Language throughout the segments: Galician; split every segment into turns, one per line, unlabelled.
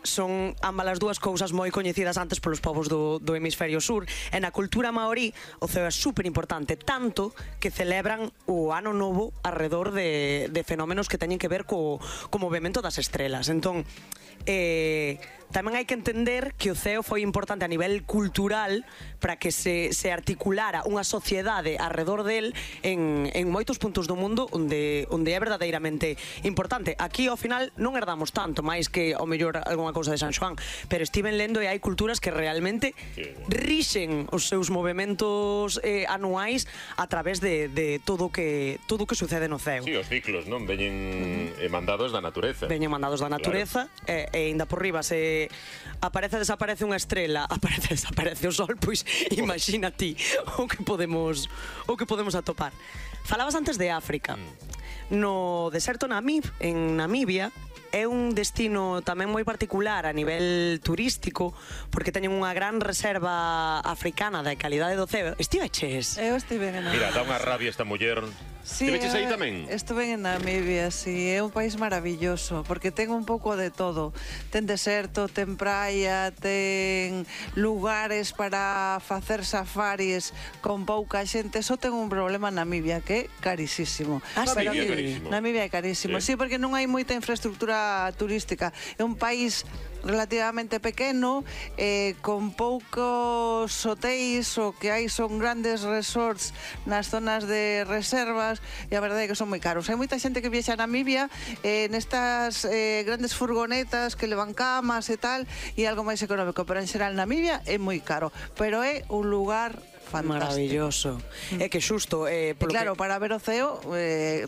son ambas as dúas cousas moi coñecidas antes polos povos do hemisferio sur, e na cultura maorí o ceo é super importante, tanto que celebran o ano novo arredor de fenómenos que teñen que ver co movimento das estrelas. Entón, tamén hai que entender que o ceo foi importante a nivel cultural para que se articulara unha sociedade arredor del en moitos puntos do mundo onde é verdadeiramente importante. Aquí ao final non herdamos tanto, máis que ao mellor algunha cousa de San Xoán, pero estiven lendo e hai culturas que realmente rixen os seus movimentos anuais a través de todo o que sucede no ceo.
Sí, os ciclos, non? Veñen mandados da natureza.
Veñen mandados da natureza, claro. E ainda por riba se aparece desaparece unha estrela, aparece desaparece o sol, pois imagina ti o que podemos atopar. Falabas antes de África. No deserto en Namibia é un destino tamén moi particular a nivel turístico, porque teñen unha gran reserva africana de calidade do ceo. Estiveches?
Eu estive en Namibia.
Mira, dá unha rabia esta muller.
Sí,
estiveches aí tamén?
Estuve en Namibia, sí, é un país maravilloso, porque ten un pouco de todo. Ten deserto, ten praia, ten lugares para facer safaris con pouca xente. Só ten un problema en Namibia, que é carísimo.
Namibia é carísimo.
Namibia é carísimo, sí, porque non hai moita infraestructura turística. É un país relativamente pequeno, con poucos hotéis, o que hai son grandes resorts nas zonas de reservas, e a verdade é que son moi caros. Hai moita xente que viaxa a Namibia nestas grandes furgonetas que levan camas e tal, e algo máis económico, pero en xeral Namibia é moi caro, pero é un lugar fantástico.
Maravilloso. É que xusto...
claro, para ver o ceo,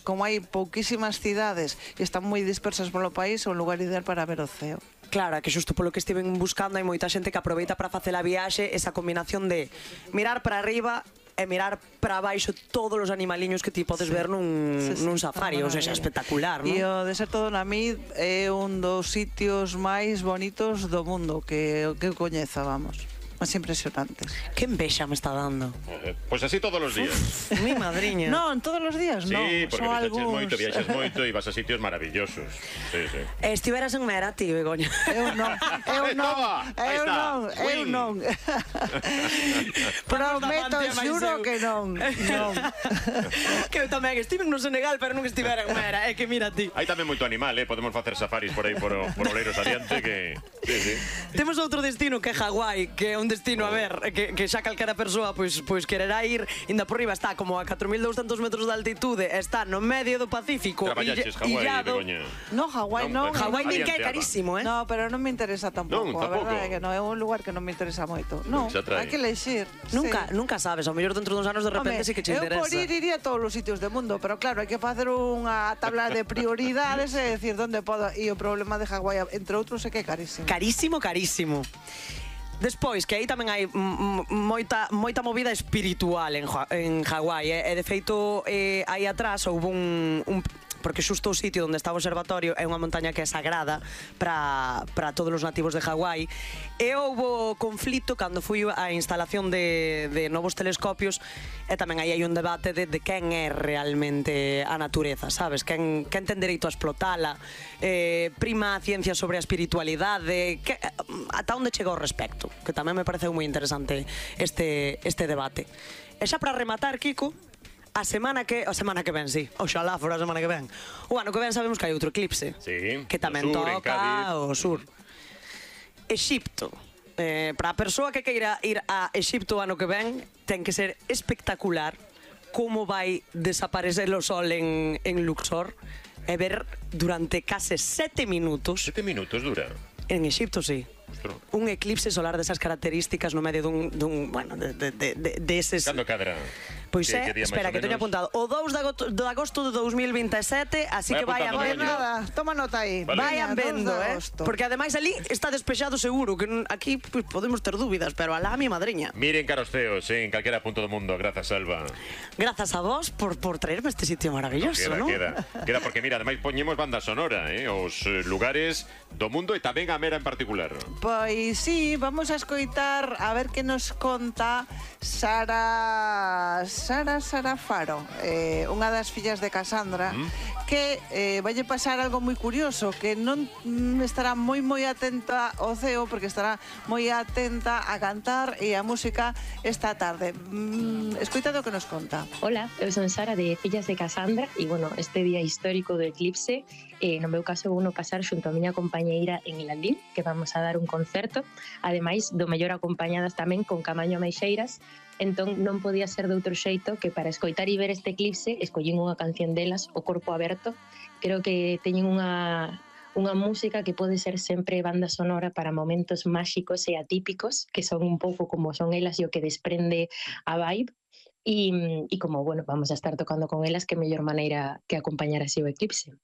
como hai pouquísimas cidades e están moi dispersas polo país, é un lugar ideal para ver o ceo.
Claro, que xusto polo que estiven buscando hai moita xente que aproveita para facer a viaxe esa combinación de mirar para arriba e mirar para baixo todos os animaliños que ti podes ver nun safari, ou seja, espectacular, non?
E o deserto do Namib é un dos sitios máis bonitos do mundo que coñeza, vamos. Más impresionantes.
Que envexa me está dando.
Pois así todos os días.
Mi madriña.
Non, todos os días non.
Sí, porque viaxas moito e vas a sitios maravillosos. Sí, sí.
Estiveras en Mera, ti, Begoña.
Eu non. Prometo, xuro que non.
Que eu tamén estive no Senegal, pero non estivera en Mera. É que mira ti.
Hai tamén moito animal, podemos facer safaris por aí por Oleiros adiante que... Sí.
Temos outro destino que é Hawái, que é un destino, a ver, que xa calquera persoa pois quererá ir. Inda por riba está como a 4.200 metros de altitude, está no medio do Pacífico.
Traballaches Hawái, Begoña?
No, Hawái non.
Hawái nin que é carísimo,
No, pero non me interesa tampouco.
Non,
a verdade é que non, é un lugar que non me interesa moito. Non, hai que elegir.
Nunca sabes, ao mellor dentro duns anos de repente sí que che interesa.
Eu por ir iría a todos os sitios do mundo, pero claro, hai que facer unha tabla de prioridades e decir onde podo. E o problema de Hawái, entre outros, é que é carísimo.
Carísimo. Despois, que aí tamén hai moita movida espiritual en Hawái, e de feito aí atrás houve un porque xusto o sitio onde está o observatorio é unha montaña que é sagrada para todos os nativos de Hawái, e houve conflito cando foi a instalación de novos telescopios, e tamén aí hai un debate de quen é realmente a natureza, sabes? Quen ten dereito a explotala, prima a ciencia sobre a espiritualidade, ata onde chega o respecto, que tamén me pareceu moi interesante este debate. E xa para rematar, Kiko, a semana que ven, sí. Oxalá fora a semana que ven. O ano que ven sabemos que hai outro eclipse.
Sí.
Que tamén toca o sur. Exipto. Para a persoa que queira ir a Exipto o ano que ven, ten que ser espectacular como vai desaparecer o sol en Luxor e ver durante case 7 minutos.
7 minutos dura?
En Exipto, sí. Un eclipse solar desas características no medio dun bueno, de eses...
Cando cadra?
Pois espera, que teño apuntado o 2 de agosto de 2027, así que vayan vendo.
Nada, toma nota aí.
Vayan vendo, porque ademais ali está despexado seguro, que aquí podemos ter dúbidas, pero alá mi madriña.
Miren caros ceos, en calquera punto do mundo. Grazas, Alba.
Grazas a vos por traerme este sitio maravilloso, ¿no?
Queda, porque mira, ademais poñemos banda sonora, os lugares do mundo e tamén a Mera en particular.
Pois sí, vamos a escoitar a ver que nos conta Sara Faro, unha das fillas de Cassandra, que valle pasar algo moi curioso, que non estará moi atenta ao ceo, porque estará moi atenta a cantar e a música esta tarde. Escoitade o que nos conta.
Hola, eu son Sara de Fillas de Casandra e, bueno, este día histórico do eclipse, no meu caso vou no pasar xunto a miña compañeira en El Aldín, que vamos a dar un concerto, ademais do mellor acompañadas tamén con Camaño Ameixeiras. Entón non podía ser de outro xeito que para escoitar e ver este eclipse escollín unha canción delas, O Corpo Aberto. Creo que teñen unha música que pode ser sempre banda sonora para momentos máxicos e atípicos, que son un pouco como son elas e o que desprende a vibe. E como, bueno, vamos a estar tocando con elas, que mellor maneira que acompañar así o eclipse.